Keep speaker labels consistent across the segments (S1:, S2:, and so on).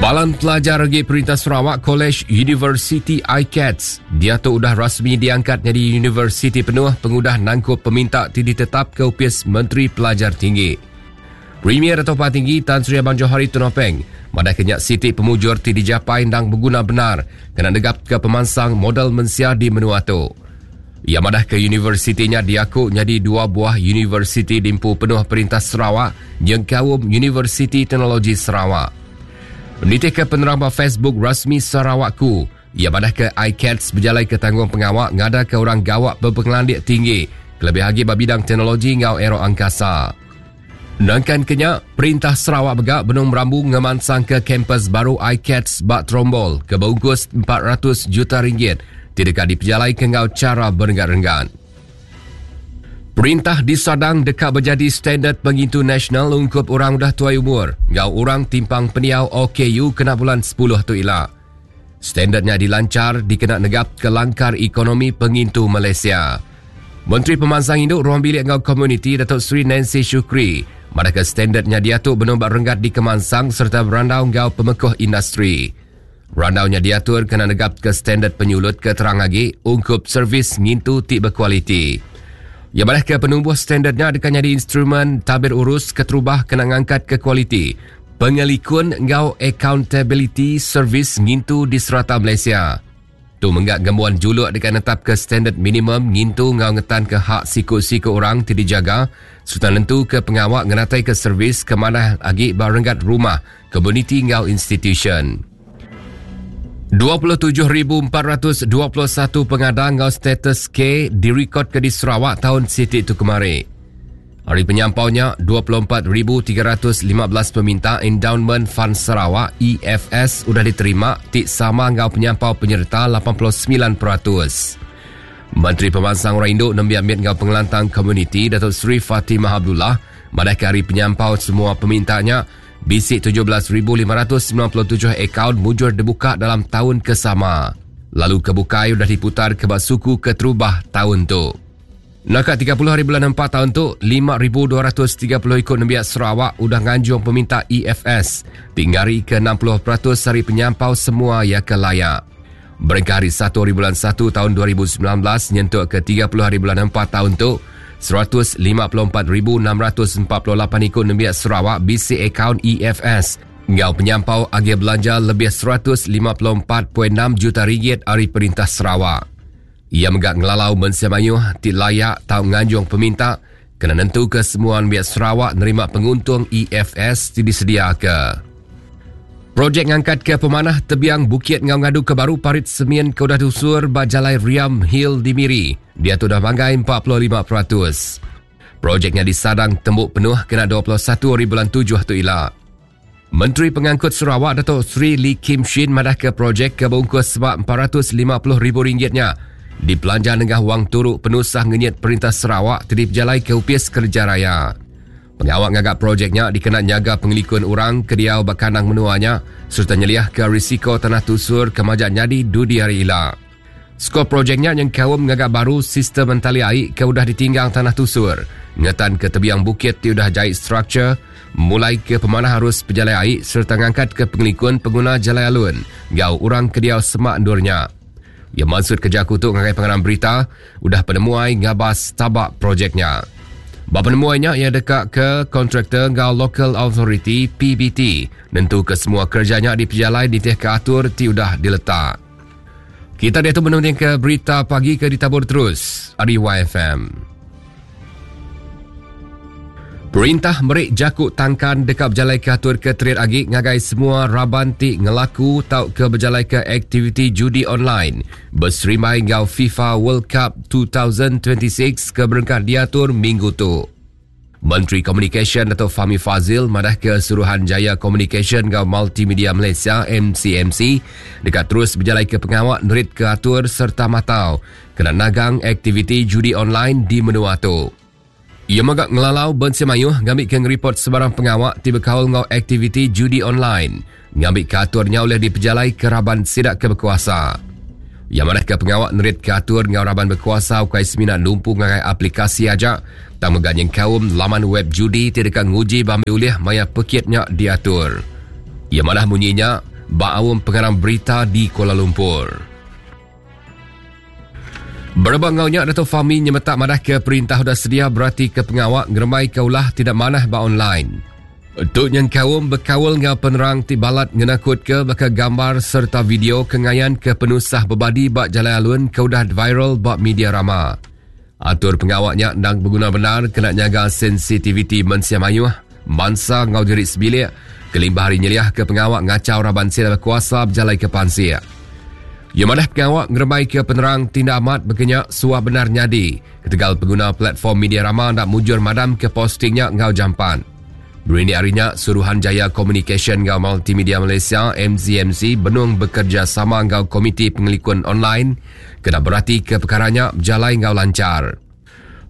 S1: Palan Pelajar Regi Perintah Sarawak College University ICATS diatu udah rasmi diangkat nyadi universiti penuh pengudah nangkup peminta ti ditetap ke Opis Menteri Pelajar Tinggi. Premier Datuk Patinggi Tan Sri Abang Johari Tun Openg madah ke nya siti pemujur ti dijapai endang beguna bendar kena negapka pemansang modal mensia di menua tu. Iya madah ke universiti nya diaku nyadi dua buah universiti diempu penuh Perintah Sarawak nyengkaum Universiti Teknologi Sarawak. Nitihka penerang ba Facebook rasmi Sarawakku, iya madah ke ICATS bejalaika tanggungpengawa ngadaka orang gawa bepengelandik tinggi kelebih agi ba bidang teknologi enggau aeroangkasa. Nangkan ke nya, Perintah Sarawak mega benung merambu ngemansangka kampus baru ICATS ba Trombol ke beungkus 400 juta ringgit ti deka dipejalaika enggau chara berenggat-renggat. Perintah disadang deka bejadi standard pengintu nasional ungkup orang udah tuai umur enggau orang timpang pendiau OKU kena bulan 10 tu ila. Standard nya dilanchar dikena negapka langkar ekonomi pengintu Malaysia. Menteri Pemansang Indu, Ruang Bilik enggau Komuniti Datuk Seri Nancy Shukri madahka standard nya diatu benung ba renggat dikemansang sereta berandau enggau pemekuh industri. Randau nya diatur kena negapka standard penyulut ke terang agi ungkup servis ngintu ti bekualiti. Iya madahka penumbuh standard nya deka nyadi instrumen tabir urus keterubah kena ngangkatka kualiti Pengelikun enggau akauntabiliti servis ngintu di serata Malaysia. Tu mengga ngembuan juluk deka netapka standard minimum ngintu enggau ngetanka hak siku-siku orang ti dijaga sereta nentuka pengawa ngenataika servis ke manah agi ba renggat rumah, komuniti enggau institusyen. 27,421 pengada enggau status K dirikodka di Sarawak taun siti tu kemari. Ari penyampau nya, 24,315 peminta Endowment Fund Sarawak, EFS, udah diterima ti sama enggau penyampau penyereta 89%. Menteri Pemansang Orang Indu, Nembiak Mit enggau Pengelantang Komuniti Datuk Seri Fatimah Abdullah madahka ari penyampau semua peminta nya, bisi 17,597 akaun mujur dibuka dalam taun ke sama lalu ke bukai udah diputarka ba suku keterubah taun tu. Naka 30 hari bulan 4 taun tu, 5,230 iku nembiak Sarawak udah nganjung peminta EFS ti ngarika 60% ari penyampau semua iya ke layak. Berengkah hari 1 hari bulan 1 taun 2019 nyentuk ke 30 hari bulan 4 taun tu, 154,648 iku nembiak Sarawak bisi akaun EFS enggau penyampau agih belanja lebih 154.6 juta ringgit ari Perintah Sarawak. Iya mega ngelalau mensia mayuh ti layak tau nganjung peminta kena nentuka semua nembiak Sarawak nerima penguntung EFS ti disediaka. Projek ngangkatka pemanah tebiang bukit enggau ngaduka baru parit semin ke udah tusur ba Jalai Riam Hill di Miri diatu udah manggai 45%. Projek nya disadang tembu penuh kena 21 hari bulan tujuh tu ila. Menteri Pengangkut Sarawak Datuk Seri Lee Kim Shin madahka projek ke beungkus seba RM450,000 nya dipelanja nengah wang turu penusah ngenyit Perintah Sarawak ti dipejalaika Opis Kereja Raya. Pengawa ngaga projek nya dikena nyaga pengelikun orang ke diau ba kandang menua nya sereta nyeliahka risiko tanah tusur ke majak nyadi dudi hari ila. Skop projek nya nyengkaum ngaga baru sistem entali ai ke udah ditinggang tanah tusur, ngetanka tebiang bukit ti udah jai struktur, mulaika pemanah arus pejalai ai sereta ngangkatka pengelikun penguna jalai alun enggau orang ke diau semak endur nya. Iya mansutka jaku tu ngagai pengarang berita udah penemuai ngabas taba projek nya. Ba penemuai nya iya deka ke kontraktor enggau Local Authority PBT nentuka semua kereja nya dipejalai nitihka atur ti udah diletak. Kita diatu menundingka berita pagi ke ditabur terus ari YFM. Perintah meri jaku tangkan deka bejalaika atur ke terit agi ngagai semua raban ti ngelaku tauka bejalaika aktiviti judi online beserimbai enggau FIFA World Cup 2026 ke berengkah diatur minggu tu. Menteri Komunikasyen Datuk Fahmi Fazil madahka Suruhanjaya Komunikasyen enggau Multimedia Malaysia MCMC deka terus bejalaika pengawa neritka atur sereta matau kena nagang aktiviti judi online di menua tu. Iya mega ngelalau mensia mayuh ngambika ngeripot sebarang pengawa ti bekaul enggau aktiviti judi online ngambika atur nya ulih dipejalaika raban sida ke bekuasa. Iya madahka pengawa neritka atur enggau raban bekuasa ukai semina numpu ngagai aplikasi aja tang mega nyengkaum laman web judi ti deka nguji bambi ulih maya pekit nya diatur. Iya madah munyi nya. ba aum pengarang berita di Kuala Lumpur. Berebak enggau nya, Datuk Fahmi nyemetak madahka perintah udah sedia beratika pengawa ngerembaika ulah ti enda manah ba online. Tu nyengkaum bekaul enggau penerang ti balat ngenakutka baka gambar sereta video ke ngayanka penusah bebadi ba jalai alun ke udah viral ba media rama. Atur pengawa nya endang beguna bendar kena nyaga sensitiviti mensia mayuh, mansa enggau diri sebilik kelimpah ari nyeliahka pengawa ngachau raban sida bekuasa bejalaika pansik. Iya madah pengawa ngerembaika penerang ti enda amat baka nya suah bendar nyadi ketegal penguna platform media rama enda mujur madamka posting nya enggau jampat. Berindik ari nya, Suruhanjaya Komunikasyen enggau Multimedia Malaysia, MCMC, benung bekerejasama enggau Komiti Pengelikun Online kena beratika pekara nya bejalai enggau lanchar.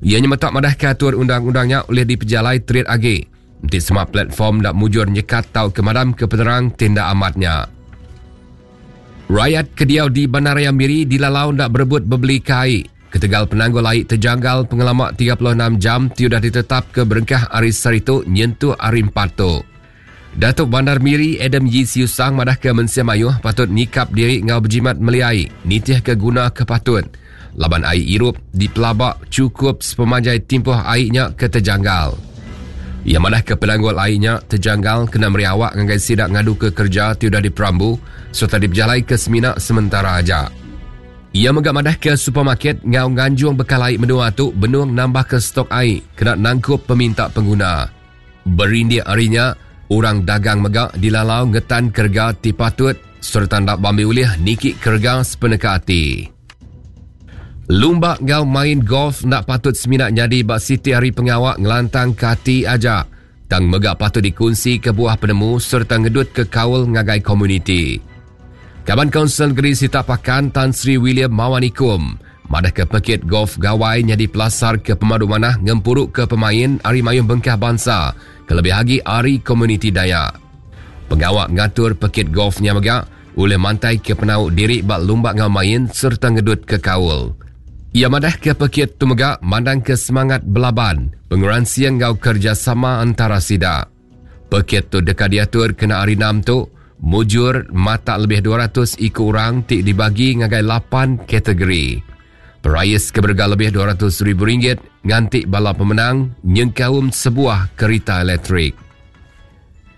S1: Iya nyemetak madahka atur undang-undang nya ulih dipejalai terit agi enti sema platform enda mujur nyekat tauka madamka penerang ti enda amat nya. Rayat ke diau di Bandaraya Miri dilalau enda berebut bebelika ai ketegal penanggul ai tejanggal pengelama 36 jam ti udah ditetapka berengkah ari sehari tu nyentuk hari Empat tu. Datuk Bandar Miri Adam Yii Siew Sang madahka mensia mayuh patut nyikap diri enggau bejimat meli ai nitihka guna ke patut laban ai irup dipelaba chukup sepemanjai timpuh ai nya ke tejanggal. Iya madahka penanggul ai nya tejanggal kena meri awak ngagai sida ngaduka kereja ti udah diperambu sereta dipejalaika semina sementara aja. Iya mega madahka supermarket enggau nganjung bekal ai menua tu benung nambahka stok ai kena nangkup peminta pengguna. Berindik ari nya, orang dagang mega dilalau ngetan kerega ti patut sereta enda bambi ulih niki kerega sepeneka ati. Lumba enggau main golf enda patut semina nyadi ba siti hari pengawa ngelantangka ati aja tang mega patut dikunsika buah penemu sereta ngedutka kaul ngagai komuniti. Kaban Kaunsil Negeri Sitak Pakan Tan Sri William Mawan Ikom madahka pekit golf Gawai nyadi pelasar ke pemadu manah ngempuruka pemain ari mayuh bengkah bansa kelebih agi ari komuniti Dayak. Pengawa ngatur pekit golf nya mega ulih mantaika penau diri ba lumba enggau main sereta ngedutka kaul. Iya madahka pekit tu mega mandangka semangat belaban, pengeransing enggau kerejasama entara sida. Pekit tu deka diatur kena Hari Enam tu, mujur matak lebih 200 iku orang ti dibagi ngagai lapan kategori. Perais ke berega lebih 200 ribu ringgit nganti bala pemenang nyengkaum sebuah kerita elektrik.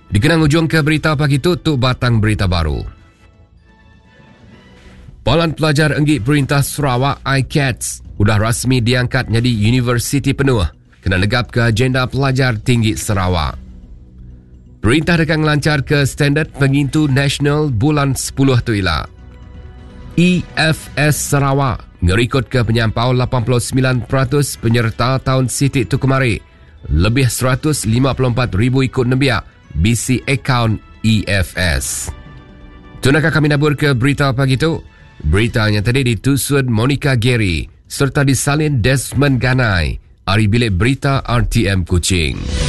S1: Dikena ngujungka berita pagi tu, tu batang berita baru. Palan Pelajar Enggi Perintah Sarawak ICATS udah rasmi diangkat nyadi universiti penuh kena negapka agenda pelajar tinggi Sarawak. Perintah deka ngelancharka standard pengintu nasional bulan 10 tu ila. EFS Sarawak ngerikodka penyampau 89% penyerta taun siti tu kemari. Lebih 154,000 iku nembiak bisi akaun EFS. Tu naka kami naburka berita pagi tu. Berita nya tadi ditusun Monica Gary sereta disalin Desmond Ganai ari Bilik Berita RTM Kuching.